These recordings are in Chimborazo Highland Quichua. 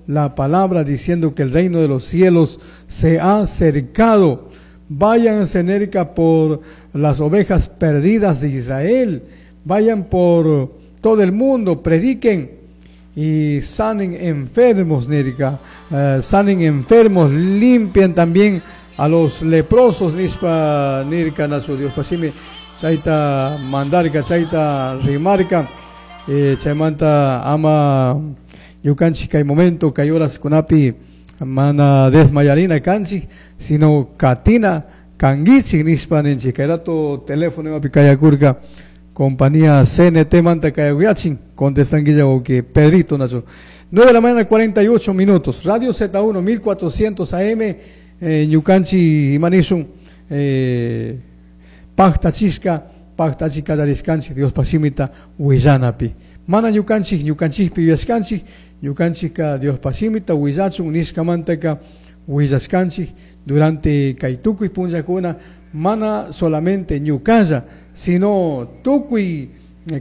La palabra diciendo que el reino de los cielos se ha acercado. Vayan, cerca por las ovejas perdidas de Israel. Vayan por todo el mundo, prediquen y sanen enfermos, nirca. Sanen enfermos, limpien también a los leprosos, nispa nirca nasu Dios pasimi chayta mandarka, chayta rimarka, chaymanta ama ñukanchik kay momento, kay horas kunapi mana desmayarina kanchik, sino katina kanguichik nispa ninchik. Kay rato teléfono imapi kayakurka compañía CNT manta kayakuyachin, contestanguilla que Pedrito nasu. 9 de la mañana 48 minutos. Radio Z1 1400 AM, ñukanchik imanishun, pajtachishka, pajtachika darishkanchik Dios pasimita willanapi. Mana ñukanchik, ñukanchikpi yuyashkanchik, ñukanchikka Dios pasimita willachun nishkamantaka willashkanchik durante kay tukuy punllakuna, mana solamente ñukalla, sino tukuy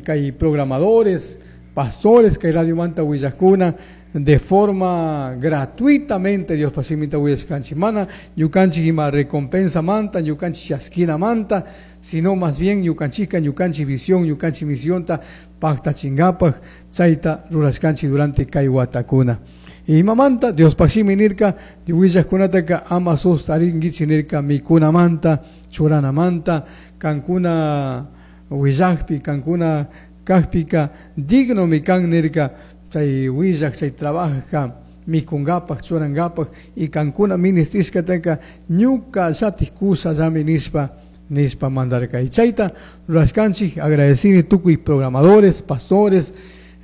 kay programadores, pastores kay radio manta willakuna de forma gratuitamente Dios pasimita willashkanchik. Mana ñukanchik ima recompensa manta, ñukanchik chaskina manta, sino más bien ñukanchika, ñukanchik visión, ñukanchik misionta pajtachingapaj chayta rurashkanchik durante kay watakuna. Imamanta Dios pasimi nirka, willajkunataka ama sustaringuichik nirka mikunamanta, churanamanta, kankuna willajpi, kankuna kajpika digno mikan nirka, chay willaj, chay trabajka mikungapaj, churangapaj, y kankuna ministishkataka ñuka llatik kusa llami nispa, nispa mandarka. Y chayta rurashkanchik, agradecini tukuy programadores, pastores,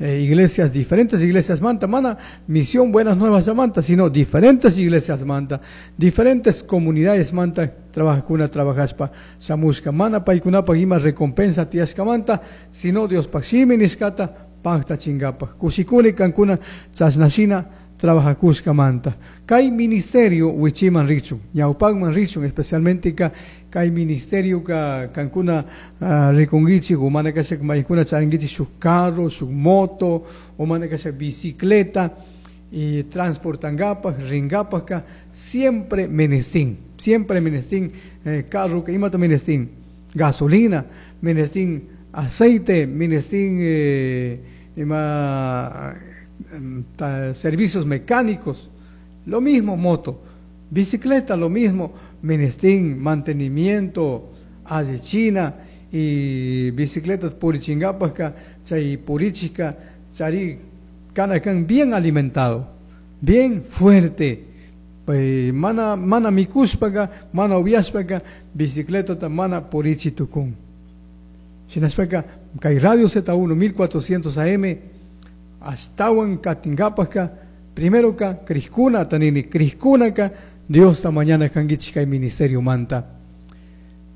iglesias, diferentes iglesias manta, mana misión Buenas Nuevas manta, sino diferentes iglesias manta, diferentes comunidades manta, trabajacuna, trabajaspa, samushka, mana paykunapa ima recompensa tiashka manta, sino Dios paximi nishkata, pacta chingapa. Kushikuni kankuna chasnashina trabajakushka manta. Kay ministerio wichiman richun, ñawpakman richun, especialmente ka kay ministerio ka kankuna rikunguichik, umana kashak maykuna charinguichik shuk carro, shuk moto, umana kashak bicicleta, y transportangapaj, ringapaj ka siempre menestín, siempre menestín, carro ka imata menestín, gasolina, menestín aceite, menestín, ima, servicios mecánicos, lo mismo moto, bicicleta, lo mismo, menestín, mantenimiento, allichina y bicicletas purichingapasca, chay purichica, chari canacan bien alimentado, bien fuerte, pues, mana, mana mikuspaga, mana ubiaspaga, bicicleta mana purichitucun. Shinaspaga, kay Radio Z1 1400 AM, astawan katingapasca, primero ka kriskuna tanini, kriskuna ka Dios ta mañana kangichik kay ministerio manta.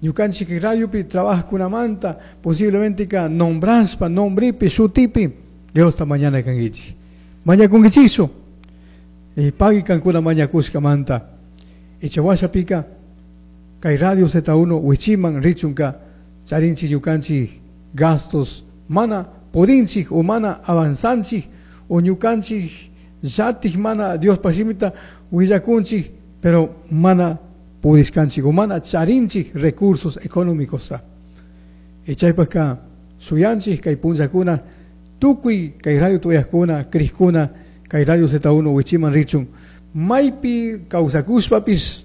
Ñukanchik radiopi trabajkuna manta, posiblemente ka nombraspa, nombripi, shutipi, Dios ta mañana kangichik. Mañakungichiso, y pagui kankuna mañakushka manta. Ichawashapika, kay Radio Z1 wichiman richunka, charinchi ñukanchik gastos, mana podinchik o mana avanzanchik o ñukanchik llatik mana Dios pasimita willakunchik, pero mana pudishkanchik o mana charinchik recursos económicos ta. Y chaypaka suyanchik kay punllakuna tukuy kay radio tuyakuna kriskuna kay Radio Z1 wichiman richun maypi kawsakushpapis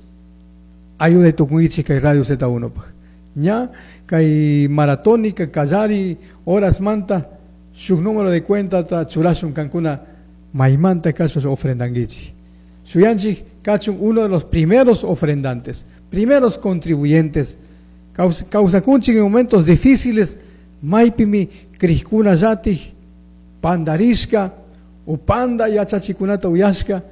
ayuda tukunkichik kay Radio Z1 paj. Ña kay maratónica kallari horas manta shuk número de cuenta ta churashun kankuna maymanta kashpas ofrendanguichik. Suyanchik kachun uno de los primeros ofrendantes, primeros contribuyentes. Kawsakunchik en momentos difíciles, maypimi kriskuna llatik, pandarishka, o panda yachachikunata uyashka,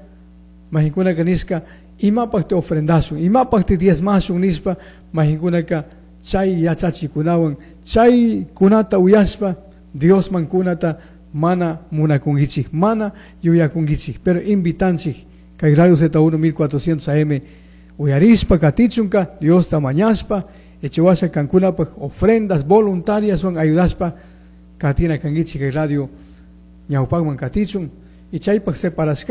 majikunaka nishka, imapaq te ofrendashun, imapaq te diezmashun nishpa, majikunaka chay yachachikunawan, chay kunata uyashpa, Diosman kunata mana munakungichik, mana yuyakungichik, pero invitanchik, kay Radio Z1 1400 AM, uyarispa katichunka, Dios ta mañaspa, echewasha kankunapaq ofrendas voluntarias son ayudaspa, katina kangichik kay radio ñawpakman katichun. Y chaypaj separashkanchik.